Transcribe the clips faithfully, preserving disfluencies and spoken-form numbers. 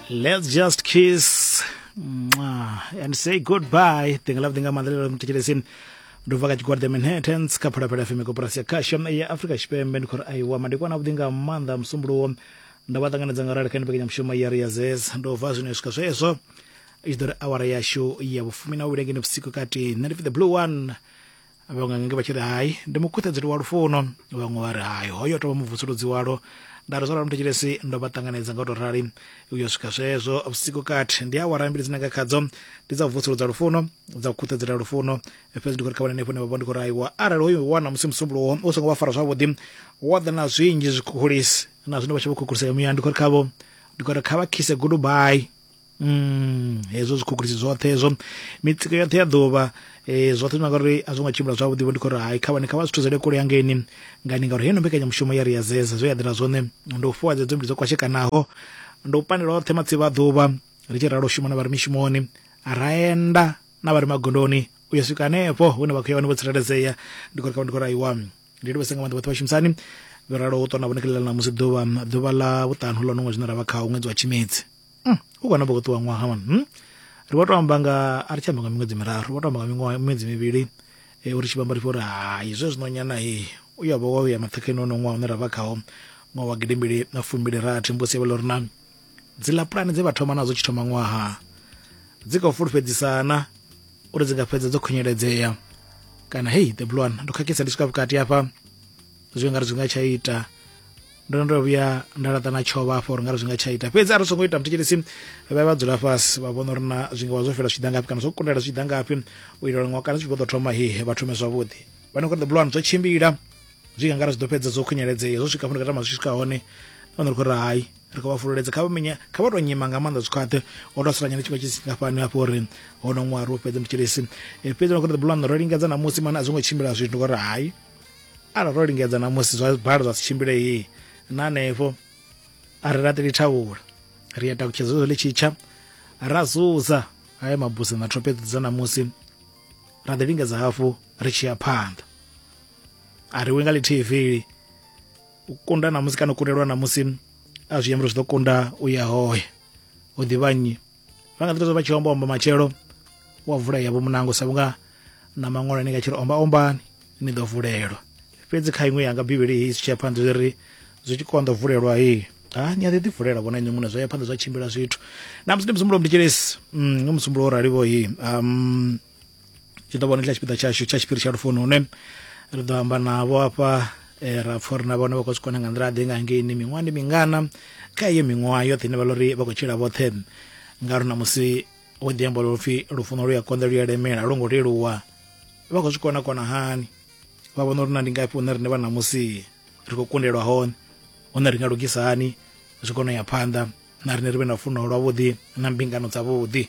Let's just kiss and say goodbye. Tinga ḽavhuḓi nga maanḓa ḽo muthetshelesi. Ndo bva kha tshigwada Manhattans kha Phalaphala F M koporasi ya khasho ya Afrika Tshipembe. Ndi khou ri aiwa madekwana avhuḓi nga maanḓa musumbuluwo. Ndo vha ṱanganedza nga rali kha mbekanyamushumo ya Ri ya Zez. Ndo bva zwino swika zwezwo i tshi ḓo ri awara yashu ya vhufumi na vhuvhili ngeno vhusiku kati. Nṋe ndi pfi the blue one, vhaṅwe nge vha tshi ri hai ndi mukhuthedzeli wa lufuno, vhaṅwe vha ri hai hoyo tovha muvutsuludzi walo. Nda ri zwo ralo muthetshelesi, ndo vha ṱanganedza nga u tou rali uyo swika zwezwo vhusiku kati. Ndi awara mbili dzine nga khadzo ndi dza u vusuludza lufuno, dza u khuthedzela lufuno. Fhedzi ndi khou ri kha vhone henefho hune vha vha ndi khou ri aiwa arali hoyo wana musi musumbuluwo u songo vha fara zwavhuḓi, wa ḓa na zwinzhi zwikhukhulisi na zwine vha tshi vho khukhulisea muya, ndi khou ri khavho ndi khou ri kha vha khise goodbye. Mm, hezwo zwikhukhulisi zwoṱhe hezwo mitsiko yoṱhe ya ḓuvha eh, zwoṱhe zwine ngauri a zwo ngo tshimbila zwavhuḓi, vho ndi khou ri hai kha vhane kha vha zwi thusele kule hangeini ngani, ngauri heino mbekanyamushumo ya Ri ya Zeza zwe ya ḓela zwone ndi u fuwa dzedzo mbili dzo kwashekanaho, ndi u pandela oṱhe matsivha a ḓuvha ri tshi ralo shuma na vha ri mishumoni, ra enda na vha ri magondoni u ya swika hanefho hune vha khou ya hone vho tsireledzea. Ndi khou ri kha ndi khou ri aiwa ndi livhese nga maanḓa vhoṱhe vhashumisani vho ralo u ṱwa na vhone kha ḽa ṋamusi ḓuvha ḓuvha ḽa vhuṱanu ḽo no ṅwedzi zwine ra vha khawo ṅwedzi wa Tshimedzi. Mm, u kona vho ṱuwa ṅwaha man. Hmm? Ri vho to amba nga a ri tshi amba nga miṅwedzi miraru, vho to amba nga miṅwaha miṅwedzi mivhili e, uri tshi vhamba ri uri hai zwe zwino nyana he u ya vho wa ya maṱhakheni ono ṅwaha une ra vha khawo ṅwaha wa gidimbili na fumbili rathi. Mbusi ya vha uri na dziḽa pulane dze vha thoma nadzo tshi thoma ṅwaha dzi khou fulufhedzisana uri dzi nga fhedza dzo khunyeledzea kana hey the blue one ndo khakhisa ndi swika vhukati hafha zwi nga ri zwi nga tsha ita. Ndo ndo vhuya nda laṱa na tshovha afho uri nga ri zwi nga tsha ita, fhedzi a ri songo ita muthetshelesi vha vha dzula fhasi vha vhona uri na zwi nga vha zwo fhela zwi tshi ḓa ngafhi kana zwo kundela zwi tshi ḓa ngafhi u itela ṅwaha kana zwi tshi vho ḓo thoma he vha thome zwavhuḓi. Vha ne the blue one zwo tshimbila zwi nga ri zwi ḓo fhedza zwo khunyeledzea zwo swika fhano tama zwi swika hone nahone ri khou ri hai ri khou vha fululedza kha vha minya kha vha to nyima nga maanḓa zwikhwaṱhe o to sala nyana tshiṅwe tshi ngafhani hafho uri hono ṅwaha ri u fhedze muthetshelesi. Fhedzi vha khou ri the blue one ro lingedza ṋamusi mana a zwo ngo tshimbila zwithu, ndi khou ri hai arali ro lingedza ṋamusi zwa bala zwa si tshimbile he na hanefho a ri laṱeli thavhula ri ya takutshedza zwo ḽi tshitsha ra zuza haya mabuse na thophe dza ṋamusi ra ḓi lingedza hafhu ri tshi ya phanḓa. A ri wi nga ḽithihi vili u kunda ṋamusi kana u kundelwa ṋamusi a zwi amba uri zwi ḓo kunda u ya hoya u ḓivha nnyi vha nga ḓi vha tshi omba omba matshelo wa vula yavho munango sa vhunga na maṅwalo ane nga tshi ri omba ombani ni ḓo vulelwa. Fhedzi kha iṅwe yanga bivhili hei tshi ya phanḓa zwi ri zwi tshi konḓa vulelwa hei ha ni a ḓi ḓi vulela vhona inwi muṋe zwa ya phanḓa zwa tshimbila zwithu. Na musi ndi musumbulowo muthetshelesi mm, musumbulowo rali vho hei um, tshi ḓo vhona tsha tshipiḓa tshashu tsha tshiphiri tsha lufuno hune ri ḓo amba navho hafha e, ra pfha uri na vhone vha khou zwi kona nga nḓila ḓe nga ngeini miṅwaha ndi mingana kha iyo miṅwaha yoṱhe ine vha ḽo ri vha khou tshila vhoṱhe, ngauri ṋamusi wo ḓi amba lupfhi lufuno lu ya konḓa lu ya lemela a lwo ngo leluwa, vha khou zwi kona kona hani vha vhona uri na ndi ngafhi hune riṋe vha ṋamusi ri khou kundelwa hone, hune ri nga lugisa hani zwi kone u ya phanḓa na riṋe ri vhe na lufuno lwavhuḓi na mbingano dzavhuḓi.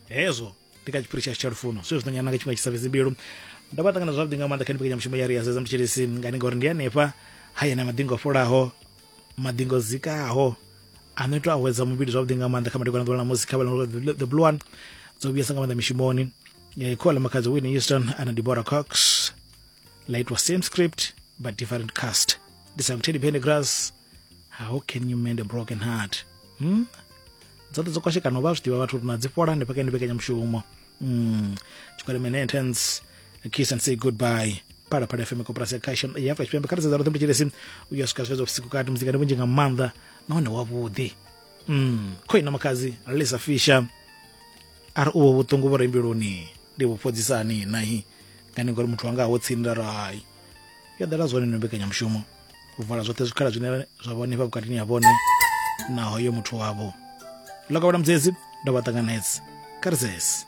Hezwo ndi kha tshiphiri tshashu tsha lufuno zwe zwi ḓo nyana nga tshifhinga tshi sa fhedzi mbilu. Ndo vha ṱangana zwavhuḓi nga maanḓa kha mbekanyamushumo ya Ri ya Zeza muthetshelesi ngani ngauri ndi hanefha hayani maḓingo fholaho maḓingo zikaho ano ito awedza muvhili zwavhuḓi nga maanḓa kha madekwana ḓuvha ḽa ṋamusi kha vha the blue one dzo vhuyesa nga maanḓa mishumoni. Khola Makhadzi, Whitney Houston and Deborah Cox la itwa same script but different cast. Ndi sang Teddy Pendergrass, How Can You Mend a Broken Heart. Hmm? Dzoṱhe dzo kwashekana vha zwi ḓivha vhathu uri na dzi fhola hanefha kha mbekanyamushumo. Mm. Tshigwada Manhattans, Kiss and Say Goodbye. Phalaphala F M koporasi ya khasho ya Afrika Tshipembe kha ri sedza roṱhe muthetshelesi u ya swika zwifhedza vhusiku kati muzika ndi vhunzhi nga maanḓa nahone wavhuḓi. Mm. Khoina Makhadzi, Lisa Fisher a ri uvho vhuṱungu vho re mbiluni ndi vhu fhodzisani nahi ngani ngori muthu wanga ho tsini nda ri hai yo ḓala zwone no mbekanyamushumo u vala zwoṱhe zwikhala zwine zwa vha hanefha vhukatini ha vhone na hoyo muthu wavho. Ḽo kavhela mudzedzi ndo vha ṱanganedza kha ri sese.